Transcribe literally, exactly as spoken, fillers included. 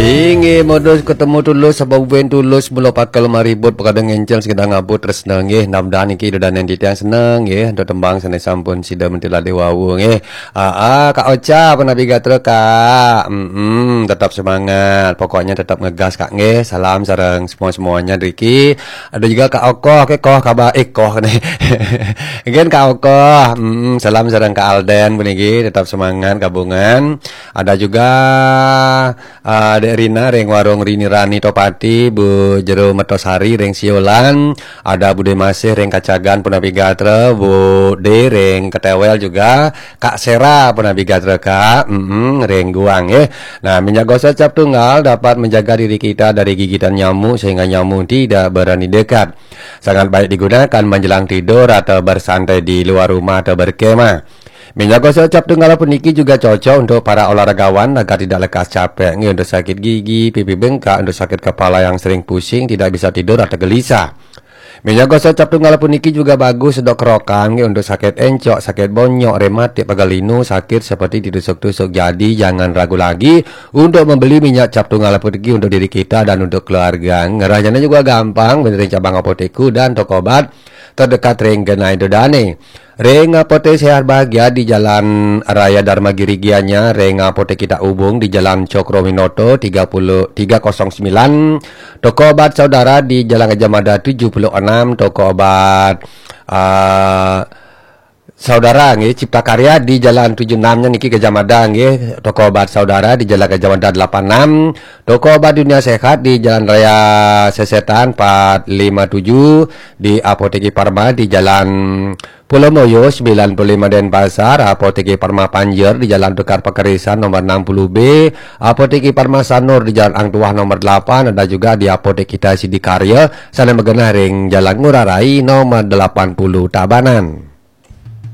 Inggih modus ketemu tulus, sebab buin tulus, mula pakai lemah ribut, pekadang encel, sekedar ngabut, terus senang, nggih. Mudah-mudahan niki ida danen titiang senang, nggih. Untuk tembang sané sampun sida mentilade wau, nggih. Ah, ah, Kak Ocha, apa Nabi Gatra, Kak? Mm-mm, tetap semangat. Pokoknya tetap ngegas, Kak, nggih. Salam sareng semua-semuanya, Riki. Ada juga Kak Okoh, ke Koh, kabar, eh, Koh, nih. Again, Kak Okoh, mm, salam sareng Kak Alden, puniki, tetap semangat, gabungan. Ada juga Ah, Dek Rina ring warung Rini Rani Topati, Bu Jero Metosari ring Siolan, ada Bude Masih ring Kacagan Punapi Gatra, Bu De ring Ketewel juga, Kak Sera Punapi Gatra, Kak, mm ring Guang, eh. Nah, minyak gosok cap tunggal dapat menjaga diri kita dari gigitan nyamuk sehingga nyamuk tidak berani dekat. Sangat baik digunakan menjelang tidur atau bersantai di luar rumah atau berkemah. Minyak gosok cap tunggal puniki juga cocok untuk para olahragawan agar tidak lekas capek, nggih, untuk sakit gigi, pipi bengkak, untuk sakit kepala yang sering pusing, tidak bisa tidur atau gelisah. Minyak gosok cap tunggal puniki juga bagus untuk kerokan, nggih, untuk sakit encok, sakit bonyok, rematik, pegal linu, sakit seperti ditusuk-tusuk. Jadi jangan ragu lagi untuk membeli minyak cap tunggal puniki untuk diri kita dan untuk keluarga. Ngerahnya juga gampang, benerin cabang apotek dan toko obat terdekat ring genah ida dane. Ring Apotek Sehat Bahagia di Jalan Raya Dharma Giri Gianyar, ring Apotek Kita Ubung di Jalan Cokro Minoto tiga puluh, tiga kosong sembilan, toko obat Saudara di Jalan Gajah Mada tujuh puluh enam, toko obat, ah, Saudara, nggih, Cipta Karya di Jalan tujuh enam nya niki Gajah Mada, nggih, toko obat Saudara di Jalan Gajah Mada delapan enam, toko obat Dunia Sehat di Jalan Raya Sesetan empat lima tujuh, di Apotek Parma di Jalan Pulau Moyo sembilan puluh lima Denpasar, Apotek Parma Panjer di Jalan Tukar Pakerisan nomor enam puluh B, Apotek Parma Sanur di Jalan Ang Tuah nomor delapan, ada juga di Apotek Kita Sidikarya, sané magenah ring Jalan Ngurah Rai nomor delapan puluh Tabanan.